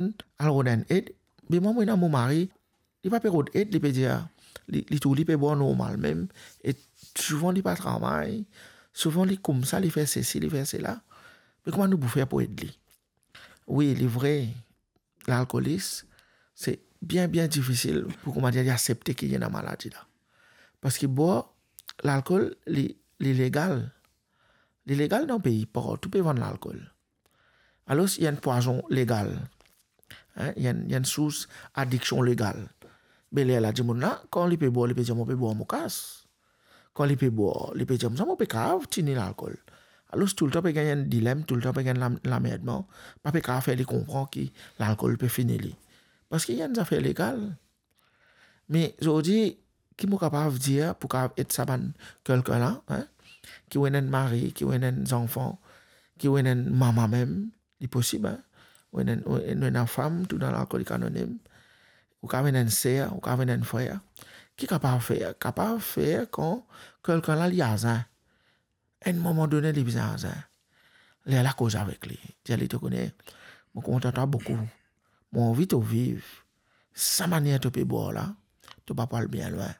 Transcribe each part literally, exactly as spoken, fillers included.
al rod enn ed. Be mwa, mo ena mo mari, li pa pe rod ed, li pe dir, li, li trouv li pe bwar normal mem, e souvan li pa travay, souvan li koumsa, li fer sesi, li fer sela. Me kouma nou pou fer pou ed li? Wi, li vre, lalkolis, se bien, bien difisil pou, kouma dir, li asepte ki li ena maladi la. Parski bwar lalkol, li, li legal. Li legal dan pei, partou pe vann lalkol. Alor, li enn pwazon legal. Hein, li enn, li enn sours adiksion legal. Be lerla dimoun la, kan li pe bwar, li pe dir, mo pe bwar, mo kas. Kan li pe bwar, li pe dir, sa mo pe kav tini lalkol. Alor, toultan pe gagn enn dilem, toultan pe gagn lam-, lamerdman, pa pe kav fer li konpran ki lalkol pe fini li. Parski li enn zafer legal. Me zordi, ki mo kapav dir pou kapav ed sa bann kelkin la, hein? Ki ou ena enn mari, ki ou ena enn zanfan, ki ou ena enn mama mem, li posib, hein? Ou ena, ou ena enn fam, tou dan Lalkolik Anonim, ou kapav ena enn ser, ou kapav ena enn frer. Ki kapav fer? Kapav fer kan kelkin la li azin. Enn moman done li bizin azin. Lerla koz avek li. Dir li, to kone, mo kontan twa boukou. Mo anvi to viv. Sa manier to pe bwar la, to pa pou al bien lwin.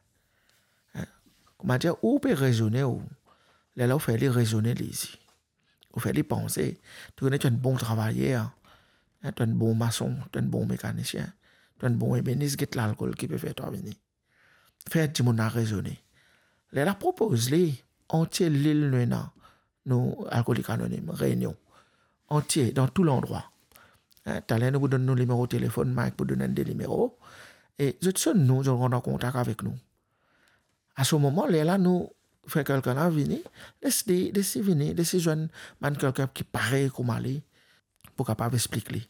Hein? Kouma dir, ou pe rezone ou. Lerla ou fer li rezone li isi. Ou fer li panse. To kone to enn bon travayer. Hein? To enn bon mason, to enn bon mekanisien, to enn bon ebenis, get lalkol ki pe fer twa vini. Fer dimoun la rezone. Lerla propoz li, antie lil nou ena, nou Lalkolik Anonim, Reunion. Antie, dan tou landrwa. Hein, taler nou pou donn nou nimero telefonn, Mike pou donn enn de nimero. E zot sonn nou, zot rant an kontak avek nou. A se moman, lerla nou fer kelkin la vini, les li, les li vini, les li zwenn bann kelkin ki parey kouma li, pou kapav explik li.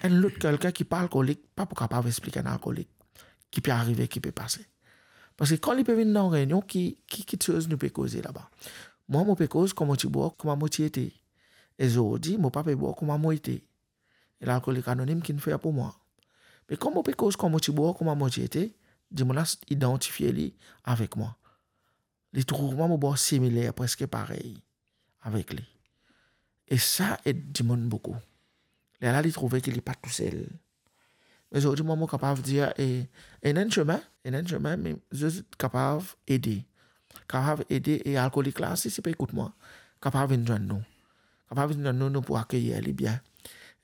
Enn lot kelkin ki pa alkolik pa pou kapav explik enn alkolik ki pe arive, ki pe pase. Parski kan li pe vinn dan Reunion, ki, ki, ki kiksoz nou pe koze laba? Mwa, mo pe koz kouma mo ti bwar, kouma mo ti ete. E zordi, mo pa pe bwar kouma mo ete. E Lalkolik Anonim ki'nn fer pou mwa. Me kan mo pe koz kouma mo ti bwar, kouma mo ti ete, dimoun la idantifie li avek mwa. Li trouv mwa mo bwar similer, preske parey avek li. E sa ed dimoun boukou. Lerla li trouve ki li pa tousel. Me zordi mwa, mo kapav dir, e, ena enn semin, ena enn semin, me zis kapav ede. Kapav ede, e alkolik la, si, si pe ekout mwa, kapav vinn zwenn nou. Kapav vinn zwenn nou, nou pou akeyir li bien.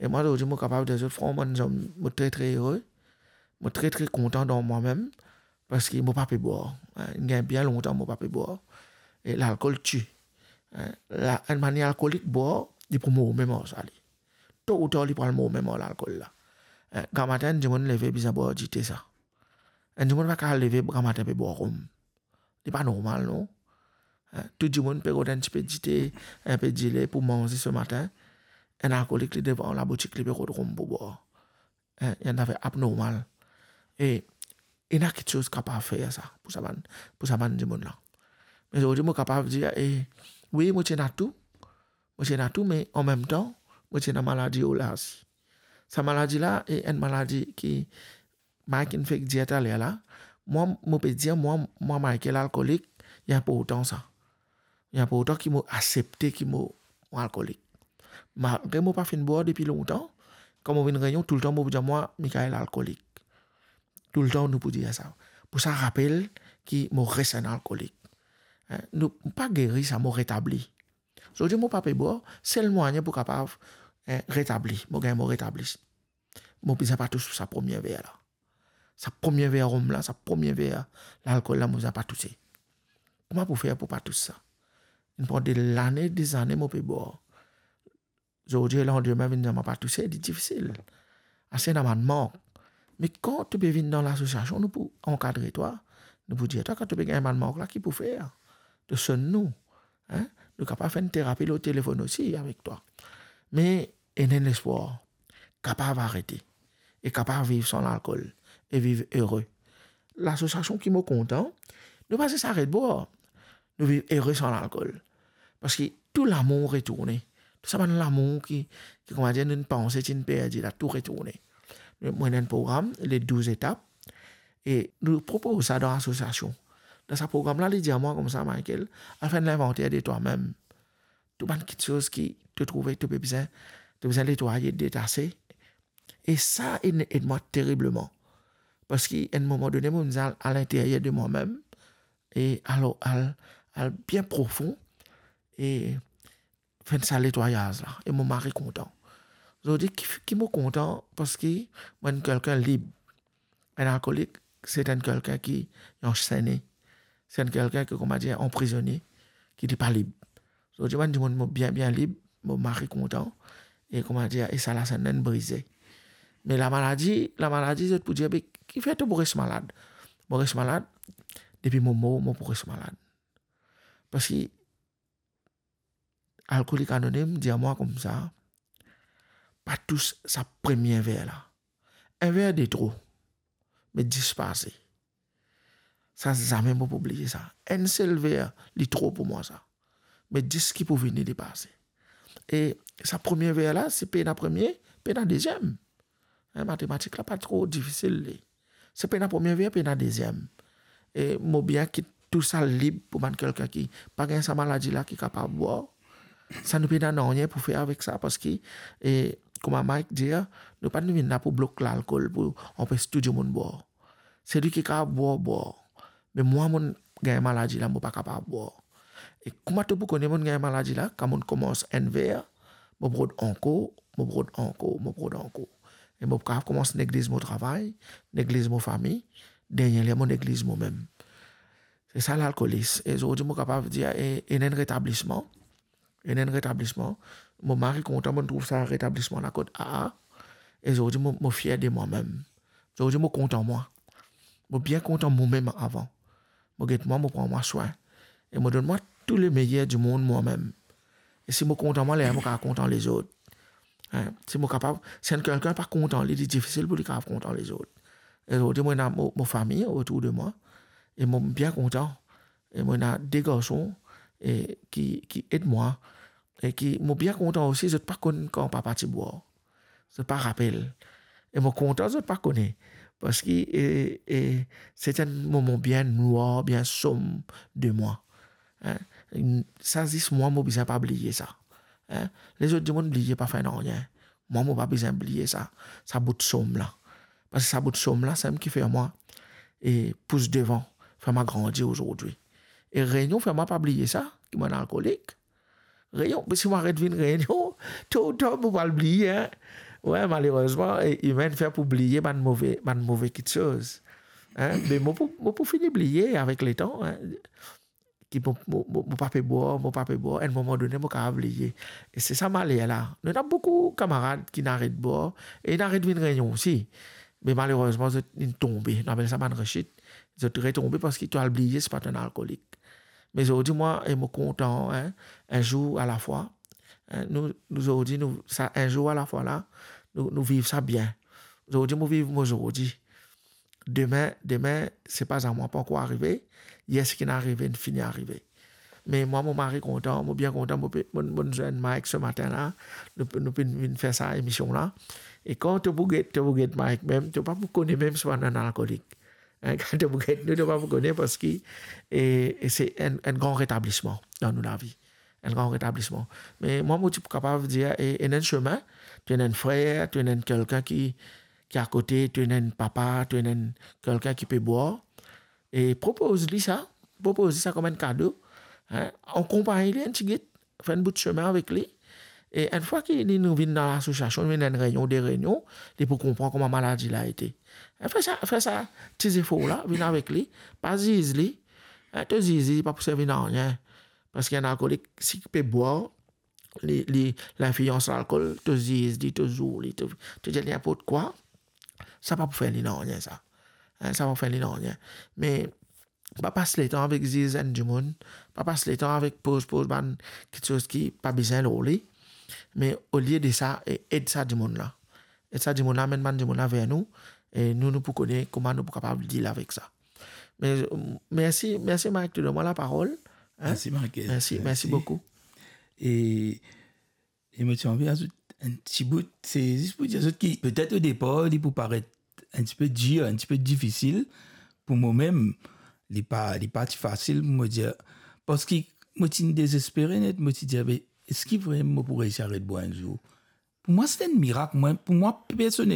E mwa, zordi, mo kapav dir zot, frank, bann zom, mo tre, tre ere. Mo tre, tre kontan dan mwa mem. Parski mo pa pe bwar. Hein, inn gagn bien lontan mo pa pe bwar. E lalkol ti. Hein, la, enn manier alkolik bwar, li pou mor mem ar sa li. To ou tar, li pou al mor mem ar lalkol la. Hein, gramatin, enn dimoun leve bizin bwar dite sa. Enn dimoun pa kapav leve gramatin pe bwar rom. Li pa normal, non? Hein, tou dimoun pe rod enn tipe dite, enn pe dile pou manze se matin. Enn alkolik, li devan laboutik, li pe rod rom pou bwar. Hein, enn zafer abnormal. E ena kiksoz kapav fer sa, pou sa bann, pou sa bann dimoun la. Me zordi, mo kapav dir, e, wi, mo ti ena tou. Mo ti ena tou, me anmemtan, mo ti ena maladi ola osi. Sa maladi la, e enn maladi ki Mike inn fek dir taler la, mwa, mo pe dir, mwa, mwa, Michael alkolik, li inportan sa. Li inportan ki mo asepte ki mo, mo alkolik. Malgre mo pa finn bwar depi lontan, kan mo vinn Reunion, toultan mo pou dir mwa, Michael alkolik. Toultan nou pou dir sa. Pou sa rapel ki mo res enn alkolik. Hein, nou pa geri sa, mo retabli. Zordi mo pa pe bwar, sel mwayin pou kapav, hein, retabli. Mo gagn mo retabli. Mo bizin pa tous sa premie ver la. Sa premie ver rom la, sa premie ver lalkol la, mo bizin pa touse. Kouma pou fer pou pa tous sa? Inn pran de lane, de zane mo pe bwar. Zordi, landime vinn dir mwa pa touse, li difisil. Ase ena bann mark. Me kan to pe vinn dan lasosiasion, nou pou ankadre twa. Nou pou dir twa, kan to pe gagn bann mark la, ki pou fer? To sonn nou. Hein? Nou kapav fer enn terapi lor telefonn osi avek twa. Me ena enn lespwar, kapav arete e kapav viv san lalkol e viv ere. Lasosiasion ki mo kontan, nou pa zis aret bwar, nou viv ere san lalkol. Parski tou lamour retourne. Tou sa bann lamour ki, ki, kouma dir, nou panse ti'nn perdi la, tou retourne. Nou, mo ena enn program, le douz etap, e nou propoz sa dan lasosiasion. Dan sa program la, li dir mwa koumsa, Michael, al fer enn linvanter de twa mem. Tou bann kiksoz ki to trouve to pe bizin, to bizin netwaye, detase, E sa inn ed mwa teribleman. Parski enn moman done, mo al, al linteryer de mwa mem, e al, al, al bien profon, e fer sa netwayaz la, e mo mari kontan. Zordi ki, ki mo kontan, parski mo enn kelkenn lib. Enn alkolik, se enn kelkenn ki ansene. Se enn kelkenn ki, koumadir, anprizone, ki li pa lib. Zordi mo enn dimoun mo bien, bien lib, mo mari kontan, e, koumadir, e sa lasenn la inn brize. Me lamaladi, lamaladi, zot pou dir, "Be, kifer to pou res malad?" Mo res malad, depi mo mor, mo pou res malad. Parski Alkolik Anonim dir mwa koumsa, "Pa tous sa premie ver la. Enn ver de tro, me dis pa ase." Sa, zame mo pou bliye sa. Enn sel ver, li tro pou mwa sa. Me dis ki pou vini, li pa ase. E sa premie ver la, si pena premie, pena deziem. Hein, matematik la pa tro difisil, li. Si pena premie ver, pena deziem. E mo bien kit tou sa lib pou bann kelkenn ki pa gagn sa maladi la, ki kapav bwar. Sa nou pena nanye pou fer avek sa, parski, e, kouma Mike dir, nou pa vinn la pou blok lalkol, pou anpes tou dimoun bwar. Selwi ki kapav bwar, bwar. Me mwa, mo gagn maladi la, mo pa kapav bwar. E kouma to pou kone mo gagn maladi la, kan mo koumans enn ver, mo rod ankor, mo rod ankor, mo rod ankor. E mo kapav koumans negliz mo travay, negliz mo fami, dernie ler mo negliz momem. Se sa lalkolis. E zordi mo kapav dir, e, ena enn retablisman. Ena enn retablisman. Mo mari kontan, mo trouv sa retablisman la kot aa. E zordi mo, mo fier de mwa mem. Zordi mo kontan mwa. Mo bien kontan momem avan. Mo get mwa, mo pran mwa swin. E mo donn mwa tou le meyer di mond mwa mem. E si mo kontan mwa, ler mo kapav kontan lezot. Hein, si mo kapav, si enn kelkenn pa kontan li, li difisil pou li kapav kontan lezot. E zordi mo ena mo, mo fami otour de mwa, e mo bien kontan. E mo ena de garson, e ki, ki ed mwa, e ki mo bien kontan osi, zot pa konn kan papa ti bwar. Zot pa rapel. E mo kontan zot pa kone. Parski, e, e, se ti enn moman bien nwar, bien som de mwa. Hein? Sa zis mwa, mo bizin pa bliye sa. Hein? Lezot dimoun bliye, pa fer nanye. Mwa, mo pa bizin bliye sa, sa bout som la. Parski sa bout som la, samem ki fer mwa, e, pous devan, fer mwa grandi ozordi. E reynion fer mwa pa bliye sa, ki mo enn alkolik. Reynion, si mo aret vinn reynion, to ou tar mo pou al bliye, hein. Wi, malerezman, e, imin fer pou bliye bann move, bann move kitsoz. Hein? Me mo pou, mo pou fini bliye avek letan, hein. Ki mo, mo, mo, mo pa pe bwar, mo pa pe bwar, enn moman done, mo kapav bliye. E se sa maler la. Nou ena boukou kamarad ki inn aret bwar, e inn aret vinn reynion osi. Me malerezman, zot inn tonbe. Nou apel sa bann rechit. Zot retonbe parski to al bliye, si pa to enn alkolik. Me zordi mwa, e mo kontan, hein, un jour à la fois. Hein, nou, nou zordi, nou, sa un jour à la fois la, nou, nou viv sa bien. Zordi, mo viv mo zordi. Demin, demin, se pa zamwa, pa ankor arive. Yer, seki inn arive, inn fini arive. Me mwa, mo mari kontan, mo bien kontan, mo pe, mo, mo zwenn Mike se matin la, nou, nou pe vinn fer sa emision la. E kan to pou get, to pou get Mike mem, to pa pou kone mem si mo enn alkolik. Hein, kan to pou get nou, to pa pou kone, parski, e, e se enn, enn gran retablisman dan nou lavi. Enn gran retablisman. Me mwa, mo ti pou kapav dir, e, ena enn semin, to ena enn frer, to ena enn kelkenn ki, ki akote, to ena enn papa, to ena enn kelkenn ki pe bwar, e propoz li sa, propoz li sa kom enn kado, hein, akonpagn li enn tigit, fer enn bout semin avek li. E enn fwa ki li, nou vinn dan lasosiasion, vinn enn reynion, de reynion, li pou konpran kouma maladi la ete. E fer sa, fer sa ti zefor la, vinn avek li, pa ziz li. Hein, to ziz li, li pa pou servi nanye. Parski enn alkolik, si pe bwar, li, li, linflians lalkol, to ziz li, to zour li, to, to dir li ninport kwa, sa pa pou fer li nanye, sa. Hein, sa pa pou fer li nanye. Me pa pas letan avek ziz enn dimoun, pa pas letan avek poz, poz bann kitsoz ki pa bizin lor li, me olie de sa, e, ed sa dimoun la. Ed sa dimoun la, amenn bann dimoun la ver nou, e nou, nou pou kone kouma nou pou kapav deal avek sa. Me, mersi, mersi Mike, to donn mwa laparol. Hein? Mersi, Mike. Mersi, mersi boukou. E, e mo ti anvi azout enn ti bout, se zis pou dir zot ki, petet o depar, li pou paret enn ti pe dir, enn ti pe difisil pou momem, li pa, li pa ti fasil pou mo dir, parski mo ti dezespere net, mo ti dir, "Be, eski vremem mo pou reisi aret bwar enn zour?" Pou mwa, se enn mirak, mwa, pou mwa personelman,